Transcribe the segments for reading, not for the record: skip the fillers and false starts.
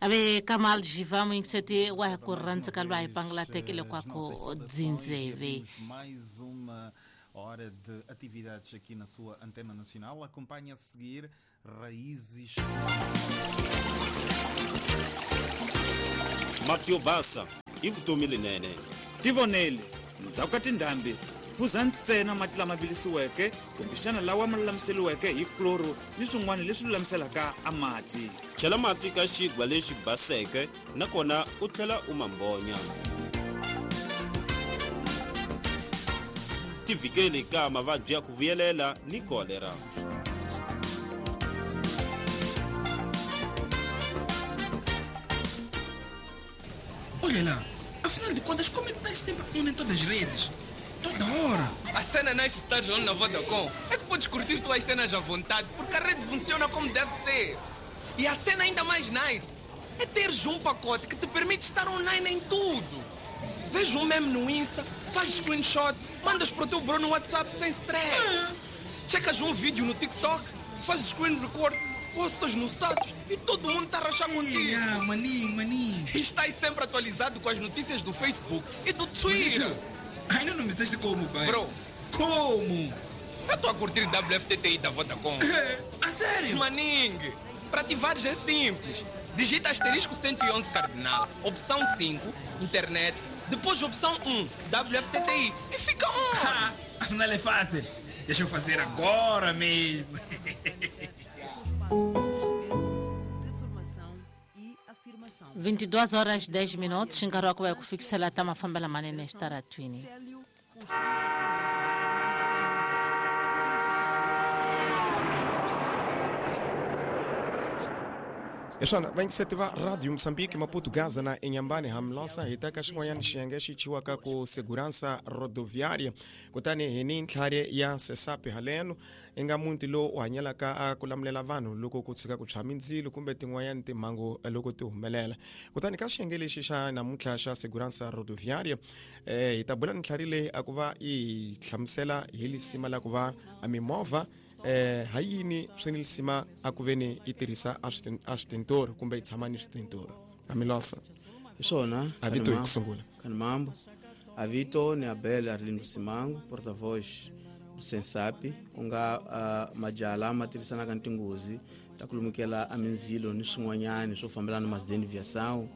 Ave Kamal Jiva muyingiseti wa hi ku rhandza lwa hi pangula tekele kwako dzindzeve. Mais uma hora de atividades aqui na sua antena nacional. Acompanhe a seguir Raízes. Mati yo basa i vutomi lenene. Tivonele, ndzhaku ka tindhambi phuza ntsena mati lama vilisiweke kumbexana lawa ma lulamiseriweke hi kloro ni swin'wana leswi lulamiselaka a mati. Chela mati ka xigwa lexi baseke nakona u tlhela u ma mbonya. Tivikeli ka mavabyi ya ku vuyelela ni kolera. Olha lá, afinal de contas, como é que estás sempre on em todas as redes? Toda hora. A cena nice estar on na Vodacom é que podes curtir tuas cenas à vontade, porque a rede funciona como deve ser. E a cena ainda mais nice é teres um pacote que te permite estar online em tudo. Vês um meme no Insta, fazes screenshot, mandas para o teu bro no WhatsApp sem stress. Checas um vídeo no TikTok, fazes screen record, postas no status e todo mundo está a rachar contigo. Ah, maninho, maninho. E estás sempre atualizado com as notícias do Facebook e do Twitter. Ainda não me disseste como, pai. Bro. Como? Eu estou a curtir WFTTI da Vodacom. A sério? Maning, para ativares é simples. Digita asterisco 111 cardinal, opção 5, internet, depois opção 1, WFTTI e fica on. Afinal é fácil. Deixa eu fazer agora mesmo. 22 horas 10 minutos nkarhi wa ku va hi ku fikisela ta mafambela manene xitaratwini. Hi swona vayingiseti va Radio Mozambique Maputo Gaza na Inhambane Hamlosa hi ta ka xin'wanyana xiyenge xi chiwaka ku Segurança Rodoviária kutani hi ni ntlhari ya Sesapi haleno i nga muti lowu u hanyelaka a ku lamulela vanhu loko ku tshuka ku tshwa mindzilo kumbe tin'wanyana timhangu loko ti humelela. Kutani ka xiyenge lexi xa namuntlha xa Segurança Rodoviária hi ta bula ni ntlhari leyi a ku va yi hlamusela hi lisima la ku va a mimovha ha yini swi ni lisima a ku veni yi tirhisa a switintoro kumbe yi tshama ni switintoro. Amilosa hi swona a vito hi ku sungula. Kanimambo avito ni Abel Arlindo Simango, porta-voz do Sensapi, ku nga majala ma tirhisanaka ni tinghozi ta ku lumukela a mindzilo ni swin'wanyani swo fambelana na masideni viação.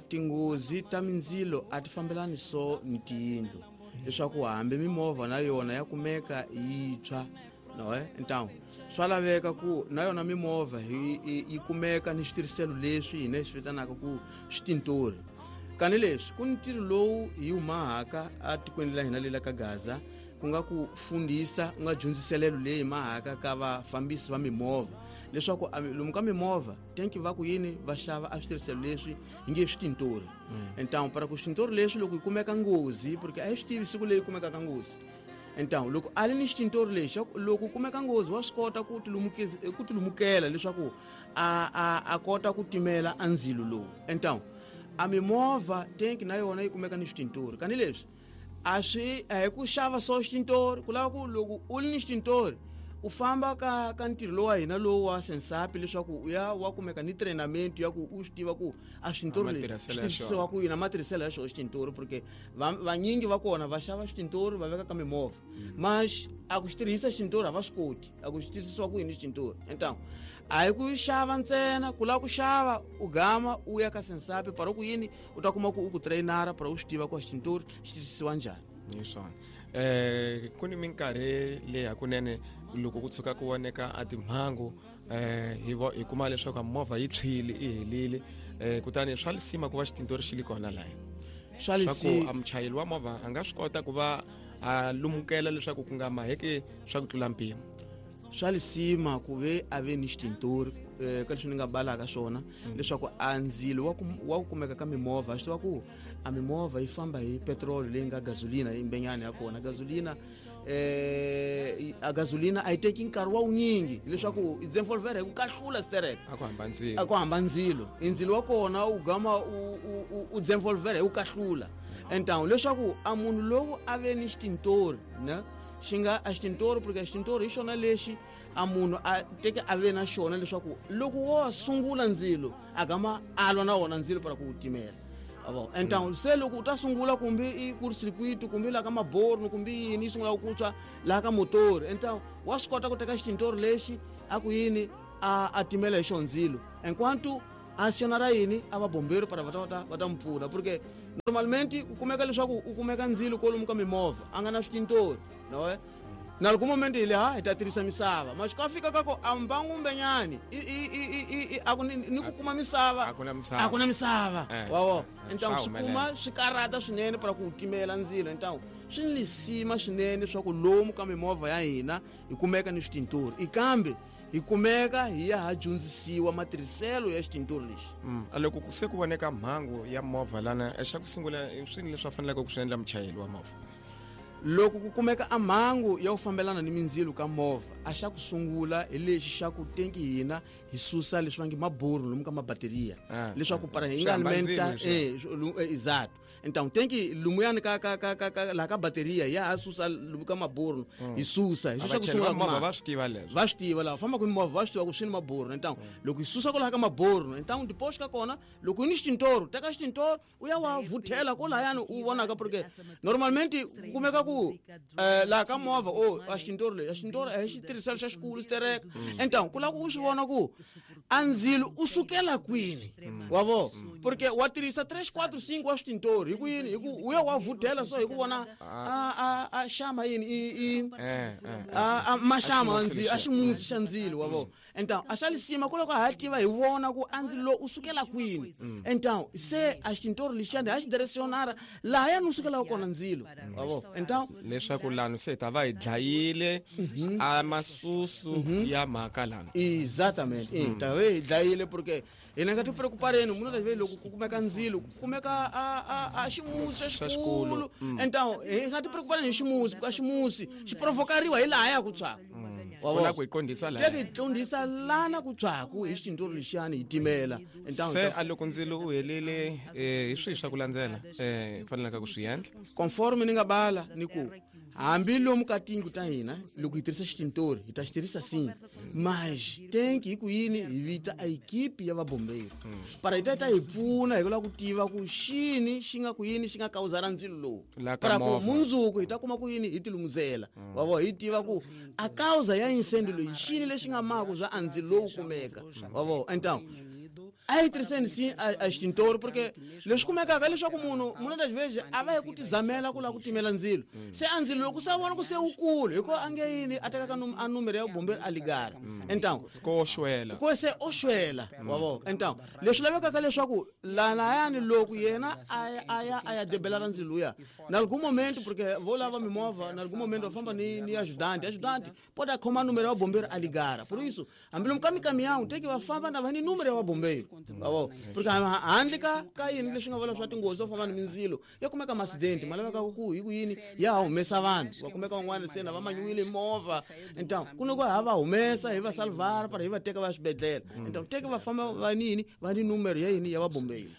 Tinghozi ta mindzilo a ti fambelani so ni tiyindlu, leswaku hambi mimovha na yona ya kumeka yi tshwa. No, então swa laveka ku na yona mimovha yi kumeka ni switirhiselo leswi hina swi vitanaka ku switintori. Kani leswi ku ni ntirho lowu hi humahaka atikweni la hina lela ka Gaza, ku nga ku fundisa ku nga dyondziselelo leyi mahaka ka vafambisi va mimovha leswaku lomu ka mimovha tenki va ku yini va xava a switirhiselo leswi hi nge switintori. Então para ku switintori leswi loko yi kumeka nghozi, porque a hi swi tivi siku leyi kumekaka nghozi. Então loko a li ni xitintori lexi loko kumeka nghozi wa swi kota ku tilumukela leswaku a kota ku timela a ndzilo lowu. Então a mimovha tenki na yona yi kumeka ni switintori. Kani leswi a swi a hi ku xava so xitintori, ku lava ku loko u li ni xitintori u famba ka ntirho lowu wa hina lowu wa Sensapi leswaku u ya wa kumeka ni trainamento ya ku u swi tiva ku a switintori leswi swi tirhisiwa ku yini, matirhiselo ya xona xitintori, porque vanyingi va kona va xava xitintori va veka ka mimovha, mas a ku xi tirhisa xitintori a va swi koti, a ku xi tirhisiwa ku yini xitintori. Então a hi ku xava ntsena, ku lava ku xava u gama u ya ka Sensapi para ku yini u ta kuma ku u ku trainara para u swi tiva ku xitintori xi tirhisiwa njhani. Hi swona. Ku ni minkarhi leyi hakunene loko ku tshuka ku voneka a timhangu hi kuma leswaku movha yi tshwile i helile, kutani swa lisima ku va xitintori xi li kona laya. Swa lisima ku a muchayeri wa movha a nga swi kota ku va a lumukela leswaku ku nga maheki swa ku tlula mpimo. Swa lisima ku ve a ve ni xitintori ka leswi ni nga balaka swona leswaku a ndzilo wa ku kumeka ka mimovha, swi tiva ku a mimovha yi famba hi petrol leyi nga gasolina imbenyana ya kona. Gasolina a gasolina a yi teki nkarhi wa wunyingi leswaku i desenvolver hi ku kahlula sterek. A ku hamba ndzilo. A ku hamba ndzilo. Ndzilo wa kona u gama u desenvolver hi ku kahlula. Então leswaku a munhu lowu a ve ni xitintori, ne? Xi nga a xitintori, porque a xitintori hi xona lexi a munhu a teke a ve na xona leswaku loko wo sungula ndzilo a gama a lwa na wona ndzilo para ku wu timela. Avo então se loko u ta sungula kumbe i court-circuit kumbe laha ka maborno kumbe yini yi sungula ku tshwa laha ka motori, então wa swi kota ku teka xitintori lexi a ku yini a timela hi xona ndzilo enquanto a sionara yini a va bombero para va ta mu pfuna, porque normalmente ku kumeka leswaku u kumeka ndzilo kwalomu ka mimovha a nga na switintori no na loko moment hi le ha hi ta tirhisa misava mas ka fika ka ku a mbangu mbenyani a ku ni ku kuma misava a ku na misava wawo. Então swi kuma swi karata swinene para ku timela ndzilo. Então swi ni lisima swinene swa ku lomu ka mimovha ya hina hi kumeka ni switintori ikambe hi kumeka hi ya ha dyondzisiwa matirhiselo ya xitintori lexi. Loko se ku voneka mhangu ya movha lana, xa ku sungula swini leswi a faneleke ku swi endla muchayeri wa movha? Loko ku kumeka a mhangu ya ku fambelana ni mindzilo ka movha, a xa ku sungula hi lexi xa ku tenki hina hi susa leswi va nge maburu lomu ka mabateriya leswaku para hi nga alimenta exato. Então tenki lumuyani ka ka ka ka la ka bateriya ya ha susa lomu ka maburu hi susa hi xa ku sungula movha va swi tiva leswi va swi tiva la famba ku movha va swi tiva ku swi ni maburu. Então loko hi susa kwalaha ka maburu, então depois ka kona loko ni xitintoro teka xitintoro u ya wa vuthela kolayani u vonaka, porque normalmente ku kumeka ku laha ka movha o a xitintoro lexi a xitintoro a hi xitirhiselo xa xikulu xitereka. Então ku lava ku u swi vona ku a ndzilo u sukela kwini wa vo, porque wa tirhisa 3 4 5 wa xitintoro hi ku yini hi ku u ya wa vuthela so hi ku vona a xama yini i a maxama ndzilo a ximusi xa ndzilo wa vo. Então a xa lisima ku loko ha tiva hi vona ku a ndzilo u sukela kwini. Então se a xitintoro lexiyani ha xi direcionara laha ya ni sukelaka kona ndzilo wa vo. Então leswaku lano se ta va hi dlayile a masusu ya mhaka lana. Exatamente, ta va hi dlayile porque hina nga ti preocupareni munhu ta ve loko ku kumeka ndzilo ku kumeka a ximusi xa xikulu. Então hi nga ti preocupareni hi ximusi ka ximusi xi provokariwa hi laha ya ku tshwaka wona ku qondisa la teke qondisa lana ku tshwaku hi xitintoro lexiyani hi timela. Então se a loko ndzilo u helile hi swihi swa ku landzela fanelaka ku swi endla conforme ni nga bala ni ku hambi lomu ka tindlu ta hina loko hi tirhisa xitintori hi ta xi tirhisa sim mas tenki hi ku yini hi vita a equipe ya vabombeiro para hi ta hi pfuna hi ku lava ku tiva ku xini xi nga ku yini xi nga kawuzara ndzilo lowu para ku mundzuku hi ta kuma ku yini hi tilumuzela wa vo hi tiva ku a causa ya incêndio leyi xini lexi nga maku bya a ndzilo lowu kumeka wa vo. Então a hi tirhiseni sim a xitintoro porque leswi kumekaka leswaku munhu das vezes a va hi ku tizamela ku lava ku timela ndzilo se a ndzilo loko se a vona ku se wukulu hikuva a nge yini a tekaka a numero ya bombero a ligara. Então ko xwela ko se o xwela wa vo. Então leswi lavekaka leswaku lanayani loko yena a ya debela ra ndzilo luya na algum momento porque vo lava mimovha na algum momento va famba ni ajudante pode khoma número ya bombeiro a ligara. Por isso hambi lomu ka micaminhão tem que va famba na va ni número ya bombeiro wa porque handle ka yini leswi nga vula swa tinghozi to famba ni mindzilo ya kumeka accident ma laveka ku hi ku yini ya humesa vanhu va kumeka van'wana se na va manyuwile movha. Então ku loko ha va humesa hi va salvar para hi va teka va swibedhlele. Então teke va famba va nini va ni número ya yini ya va bombeiro.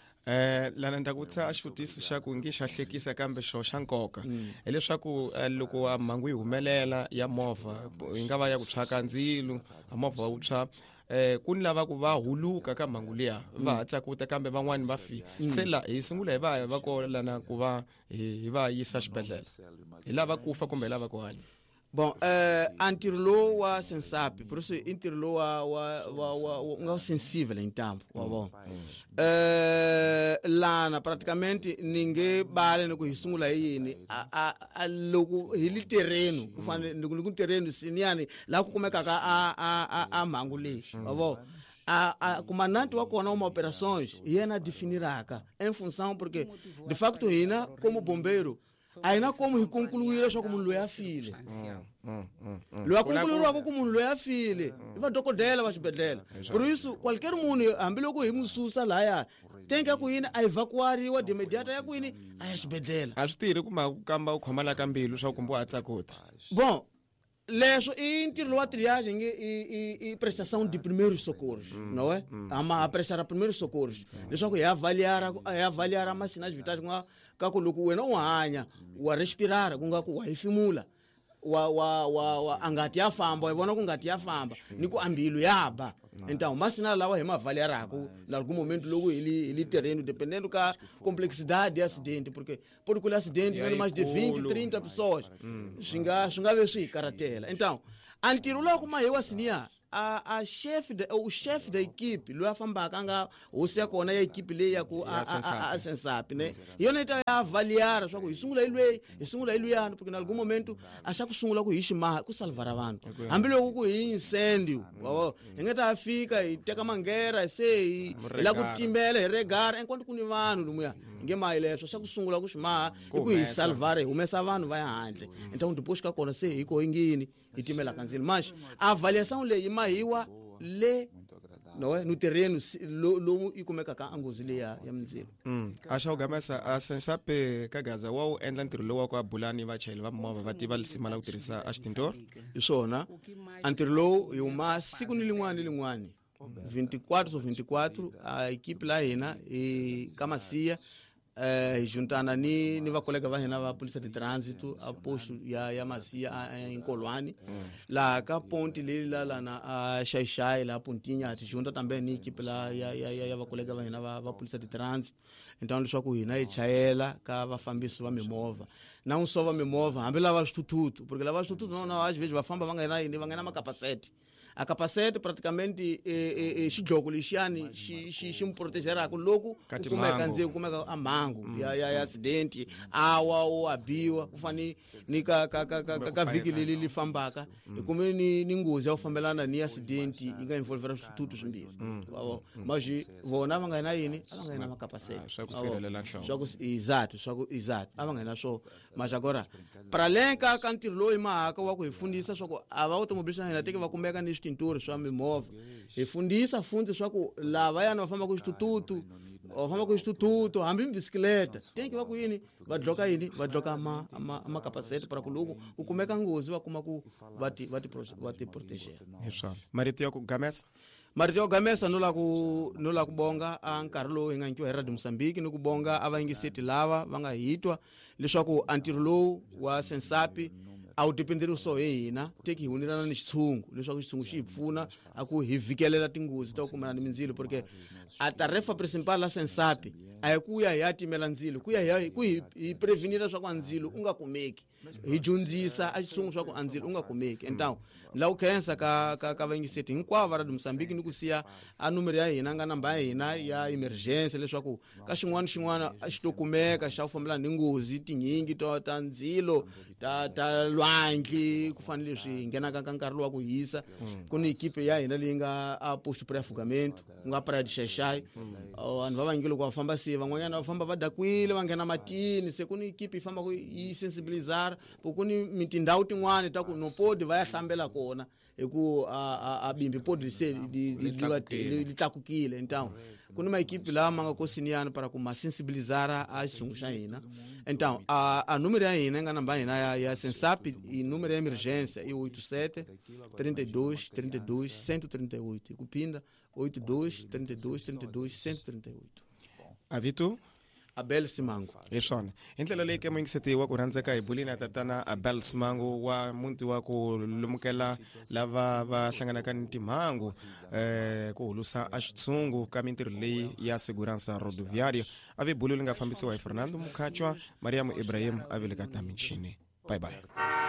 Lana ndza ku tsa xivutiso xa ku nge xa hlekisa kambe xo xa nkoka hileswaku loko a mhangu yi humelela ya movha yi nga va ya ku tshwa ka ndzilo a movha wu tshwa ku ni lava ku va huluka ka mhangu liya va ha tsakuta kambe van'wani va fi se la hi sungula hi va va ko lana ku va hi va yisa xibedhlele hi lava ku fa kumbe hi lava ku hanya. Bon, a ntirho lowu wa Sensap, por isso i ntirho lowu wa nga sensível em tempo, wa vona. Lana praticamente ninguém bale no ku sungula hi yini a loko hi li terreno, ku fanele ni ku terreno siniani la ku kumeka ka a mhangu leyi, wa vona. A comandante wa kona uma operações yena definiraka em função porque de facto hina como bombeiro a hina como hi concluir leswaku munhu loyi a file. Loyi a concluiriwaka ku munhu loyi a file i vadokodela va xibedhlele. Por isso qualquer munhu hambiloko hi n'wi susa lahaya tenka ya ku yini a evacuariwa de imediata ya ku yini a ya xibedhlele. A swi tirhi kuma ku kamba u khoma la ka mbilu swa kumbe wa tsakuta. Bon, leswo i ntirho wa triagem i prestação de primeiros socorros, não é? A prestar primeiros socorros. Leswaku hi avaliar ma sinais vitais ku nga ka ku loko wena u hanya wa respirar ku nga ku wa hefemula. Wa wa wa wa angati ya famba, hi vona ku ngati ya famba ni ku ambilu ya ba. Então masinal lawa hi mavaliaraku na algum momento logo ele terreno dependendo ka complexidade de acidente, porque pode que acidente vem mais de 20, 30 pessoas. Swi nga ve swi hi karatela. Então a ntirho lowu kuma hi wa sinia a chef de o chef da equipe loyi a fambaka a nga hosi ya kona ya equipe leyi ya ku a Sensap, ne hi yona yi ta ya avaliar swa ku hi sungula hi lweyi, hi sungula hi luyani, porque na algum momento a xa ku sungula ku hi ximaha ku salvara vanhu hambiloko ku hi incendio hi nga ta fika hi teka mangera se hi la ku timbela hi regara enquanto ku ni vanhu lomuya hi nge mahi leswo xa ku sungula ku ximaha i ku hi salvara hi humesa vanhu va ya handle. Então depois ka kona se hi ko yingini hi timela ka ndzilo. Mas a avaliação leyi mahiwa le no no terreno lomu yi kumekaka a nghozi leyi ya mindzilo. A xa ku gamesa a Sensap ka Gaza wa wu endla ntirho lowu wa ku abulani vachayeri va movha va tiva lisima la ku tirhisa a xitindoro. Hi swona a ntirho lowu hi huma siku ni lin'wana ni lin'wana 24 ou 24 a equipe la hina hi ka Masiya hi juntana ni vakolega va hina va polícia de trânsito a posto ya Masiya eNkolwani laha ka ponti leyi la lana a Xaixai la Pontinha ti junta também ni equipe la ya vakolega va hina va polícia de trânsito. Então leswaku hina hi chayela ka vafambisi va mimovha na un sova mimovha hambi lava swithuthuthu, porque lava swithuthuthu na às vezes va famba va nga na yini va nga na makapasete. A capacete praticamente xidloko lexiyani xi mu protegeraka loko ku kumeka ndzilo ku kumeka a mhangu ya accident awa o abiwa ku fani ni ka ka ka ka vhiki leri li fambaka hi kume ni nghozi ya ku fambelana ni accident yi nga involvera swithuthuthu swimbirhi. Mas vona va nga na yini a va nga na makapasete swa ku sirhelela nhloko swa ku exato swa ku exato a va nga na swo. Mas agora para além ka ntirho lowu hi mahaka wa ku hi fundisa swa ku a va automobilista hina teke va kumeka ni switinturi swa mimovha hi fundisa fundi swa ku lavayana va fambaka switututu va fambaka switututu hambi bisikleta tenki va ku yini va dloka yini va dloka makapasete para ku loko ku kumeka nghozi va kuma ku va ti proteger. Hi swona marito ya ku gamesa. Marito ya ku gamesa no la ku bonga a nkarhi lowu hi nga nyikiwa hi Radio Mozambique ni ku bonga a vayingiseti lava va nga hitwa leswaku a ntirho lowu wa Sensap a wu dependeri so hi hina teki hi hunirana ni xitshungu leswaku xitshungu xi hi pfuna a ku hi vhikelela tinghozi ta ku kumana ni mindzilo, porque a tarefa principal la Sensap a hi ku ya hi ya timela ndzilo ku ya hi ku hi prevenira swa ku a ndzilo u nga kumeki hi dyondzisa a xitshungu swa ku a ndzilo u nga kumeki. Então la ku khensa ka vayingiseti hinkwavo va Radio Mozambique ni ku siya a numero ya hina nga namba ya hina ya emergency leswaku ka xin'wana xin'wana a xi to kumeka xa ku fambelana ni nghozi tinyingi ta ndzilo ta lwandle ku fanele leswi hi nghenaka ka nkarhi lowu wa ku hisa ku ni equipe ya hina leyi nga a posto praia afogamento ku nga praia de Xaixai. Vanhu va vanyingi loko va famba se van'wanyana va famba va dakwile va nghena matini se ku ni equipe yi fambaka yi sensibilizar ku ni tindhawu tin'wani ta ku no podi va ya hlambela kona hi ku a bimbi podi se li tlakukile. Então ku ni maequipe lama nga kosiniyani para ku ma sensibilizar a xitshungu xa hina. Então a número ya hina nga namba hina ya Sensap i número ya emergência i 87 32 32 138 ku phinda 82 32 32 138. Avito Abel Simango. Hi swona hi ndlela leyi ke muyingiseti wa ku rhandzeka hi bulini ya tatana Abel Simango wa muti wa ku lumukela lava va hlanganaka ni timhangu ku hulusa a xitshungu ka mintirho leyi ya segurança rodoviária. A ve bulu li nga fambisiwa hi Fernando Mukhachwa, Mariam Ibrahim a veleka ta michini. Bye bye.